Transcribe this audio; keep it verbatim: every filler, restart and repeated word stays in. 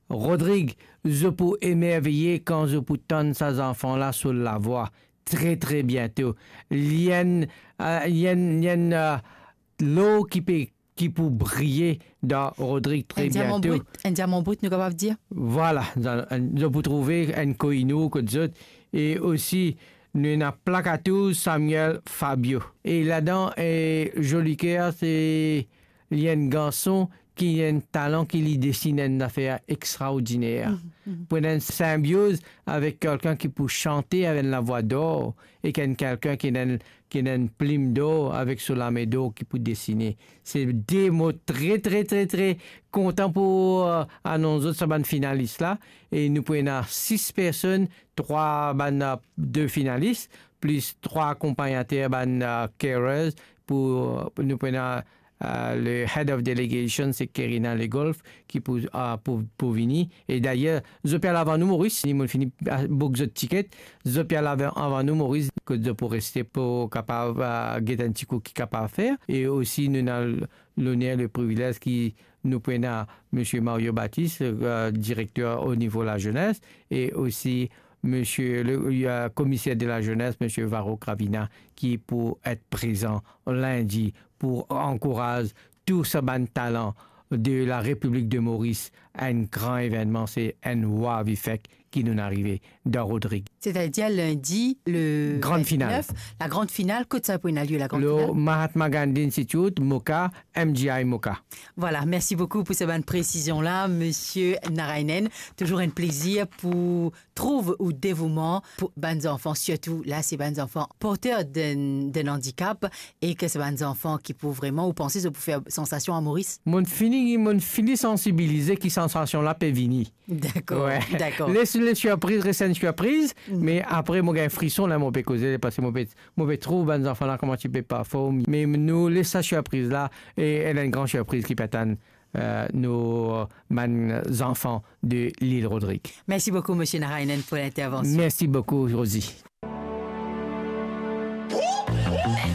Rodrig, zot pou emerveye kan zot pou tann sa zanfan la so lavwa. Tre, tre biento. Li enn, eh, li enn, li enn, eh, lor ki pe, ki pou briye dan Rodrig tre biento. Enn diaman brit, enn diaman brit, nou kapav dir. Vwala, zot pou trouve enn koinor kot zot. E osi, nou ena plak atour Samuel Fabio. E ladan, eh, Jolicoeur, se li enn garson ki enn talan ki li desinn enn zafer extraordiner. Pou ena enn sinbioz avek kelkenn ki pou sante avek enn lavwa dor, ek enn kelkenn ki ena enn, ki ena enn plim dor avek so lame dor ki pou desine. Se de mo tre, tre, tre, tre kontan pou, eh, anons zot sa bann finalis la. E nou pou ena sis personn, trwa bann, eh, de finalis, plis trwa akonpagnater bann, eh, carers, pou, eh, nou pou ena, eh, le head of delegation, se Kerina Legolf, ki pou, eh, pou, pou vini. E dayer, zot pe al avan nou Moris, ni mo'nn fini, eh, book zot tiket, zot pe al avan, avan nou Moris, kot zot pou reste pou kapav, eh, get enn ti kou ki kapav fer. E osi, nou ena l-, loner, le privilez ki nou pou ena Misie Mario Baptiste, eh, direkter o nivo lazenes, e osi Misie le, eh, komiser de lazenes, Misie Varro Cravina, ki pou et prezan lindi pou ankouraz tou sa bann talan de la Repiblik de Moris, enn gran evennman, se enn wow effect ki nou'nn arive dan Rodrig. Setadir lindi, le Gran final. Vintnef, la gran final, kot sa pou ena lie, la gran final? Lor Mahatma Gandhi Institute, MOCA, M G I MOCA. Vwala, mersi boukou pou sa bann presizion la, Misie Narayanan. Touzour enn plezir pou trouv ou devouman pou bann zanfan, sirtou la, se bann zanfan porter de, de andikap, e ki se bann zanfan ki pou vreman, ou panse, zot pou fer sansasion a Moris? Mo'nn fini, mo'nn fini sansibilize ki sansasion la pe vini. Dakor, dakor. Les, les sirpriz res enn sirpriz, me apre mo gagn frison la, mo pe koze, parski mo pe, mo pe trouv bann zanfan la kouma ti pe perform. Me nou les sa sirpriz la, e ena enn gran sirpriz ki pe atann, eh, nou bann zanfan de Lil Rodrig. Mersi boukou, Misie Narayanan, pou lintervansion. Mersi boukou, Rosie.